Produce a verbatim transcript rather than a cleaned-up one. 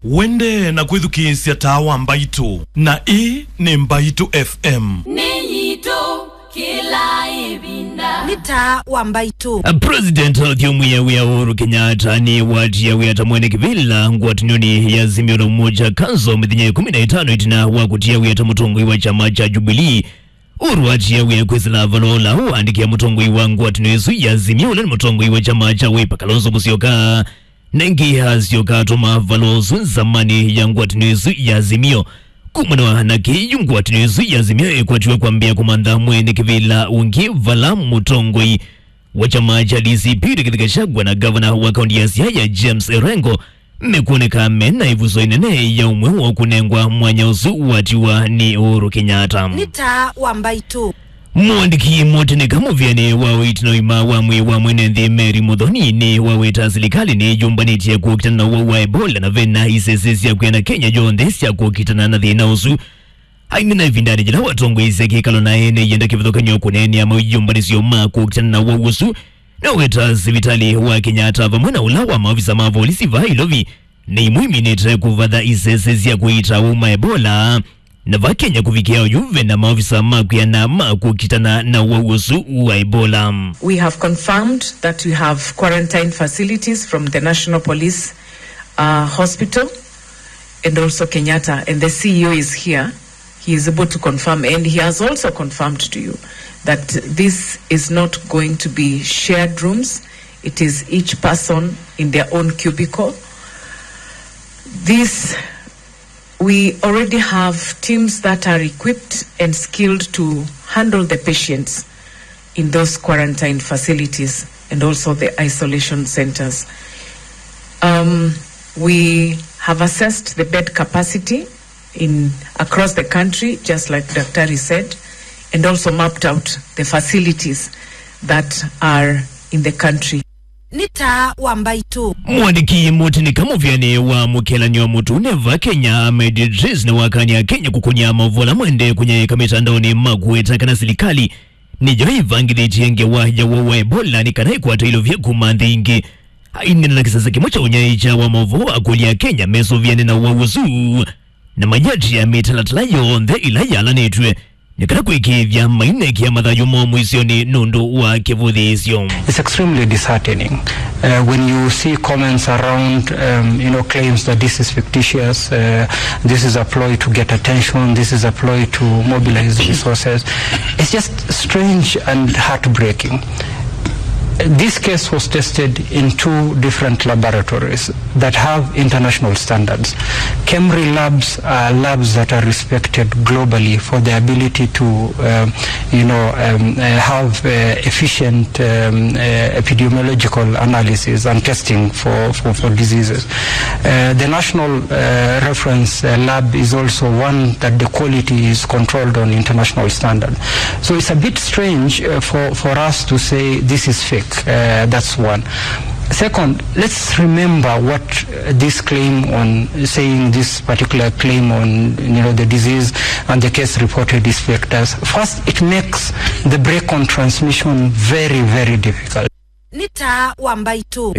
Wende na kwĩthukĩĩsya Taa wa Mbaitũ, na ĩĩ nĩ Mbaitũ F M. Nĩ yitũ kĩla ĩvinda. Nĩ Taa wa Mbaitũ. A President ũthyũmũĩa wĩa Uhuru Kenyatta nĩwatia wĩa ta mwene kĩvĩla ngwatanĩonĩ ya Azimio la Umoja Council mĩthenya ĩkũmi na ĩtano ĩtina wa kũtia wĩa ta mũtongoi wa kyama kya Jubilee. Uhuru atia wĩa kwĩsĩla valũa ũla waandĩkĩa mũtongoi wa ngwatanĩo ĩsu ya Azimio, ũla nĩ mũtongoi wa kyama kya Wiper, Kalonzo Musyoka. Na ĩngĩ asyoka atũma valũa ũsu nzamanĩ ya ngwatanĩo ĩsu ya Azimio. Kumana na kĩu, ngwatanĩo ĩsu ya Azimio ĩkwatiwe kwambĩa kũmantha mwene kĩvĩla ũngĩ, vala mũtongoi wa kyama kya D C P Rigathi Gachagua na gavana wa kaunti ya Siaya James Orengo mekwoneka mena ĩvuso ĩnene ya ũmwe wa kũnengwa mwanya ũsu watiwa nĩ Uhuru Kenyatta. Nĩ Taa wa Mbaitũ. Mũandĩki mũtĩnĩka mũvĩanĩ wa ũiiti na ũima wa mwĩĩ wa mwene nthĩ Mary Muthoni nĩwaweta silikalĩ nĩyũmbanĩtye kũkitana na ũwau wa Ebola, na vena isese sya kwĩana Kenya yonthe sya kũkitana na thĩna ũsu. Aineena ĩvindanĩ yĩla watongoesya kĩkalo na ene yenda kĩvathũkany'o kũneenea maũyũmbanĩsyo ma kũkitana na ũwau ũsu, nĩwaweta sivitalĩ wa Kenyatta vamwe na ũla wa maovisa ma volisi vaa Ilovi nĩ imwe iminĩte kũvatha isese sya kũiita ũwau ma Ebola. Na va Kenya kũvikĩa oyu, ve na maovisa ma kwĩana ma kũkitana na ũwau ũsu wa Ebola. We have confirmed that we have quarantine facilities from the National Police, uh, Hospital and also Kenyatta, and the C E O is here. He is able to confirm, and he has also confirmed to you that this is not going to be shared rooms. It is each person in their own cubicle. This We already have teams that are equipped and skilled to handle the patients in those quarantine facilities and also the isolation centers. Um, we have assessed the bed capacity in, across the country, just like Daktari said, and also mapped out the facilities that are in the country. Nĩ Taa wa Mbaitũ. Mwandĩki mũtĩnĩka mũvĩanĩ wa mũkĩlanĩo mũtune va Kenya, Ahmed Idris, nĩwakany'a Kenya kũkũnĩa maũvoo ala maendee kũnyaĩĩka mĩtandaonĩ ma kũweta kana silikalĩ nĩyo ĩvangĩthĩtye ngewa ya ũwau wa Ebola nĩ kana ĩkwate ilovya kuma nthĩ ingĩ. Aineena na kĩsese kĩmwe kya ũnyaĩĩkya wa maũvoo, akũlya Akenya mesũvĩane na ũwau ũsu na mayatia mĩtalatala yonthe ĩla yalanĩtw'e nĩ kana kwĩkĩĩthya mainekĩa mathayũ moo mũisyonĩ nũndũ wa kĩvũthĩĩsyo. It's extremely disheartening, uh, when you see comments around, um, you know, claims that this is fictitious, uh, this is a ploy to get attention, this is a ploy to mobilize resources. It's just strange and heartbreaking. This case was tested in two different laboratories that have international standards. KEMRI labs are labs that are respected globally for their ability to, uh, you know, um, uh, have, uh, efficient, um, uh, epidemiological analysis and testing for, for, for diseases. Uh, the national, uh, reference, uh, lab is also one that the quality is controlled on international standard. So it's a bit strange, uh, for, for us to say this is fake. Uh, that's one. Second, let's remember what, uh, this claim on saying this particular claim on, you know, the disease and the case reported is fake does. First, it makes the break on transmission very, very difficult. Nĩ Taa wa Mbaitũ.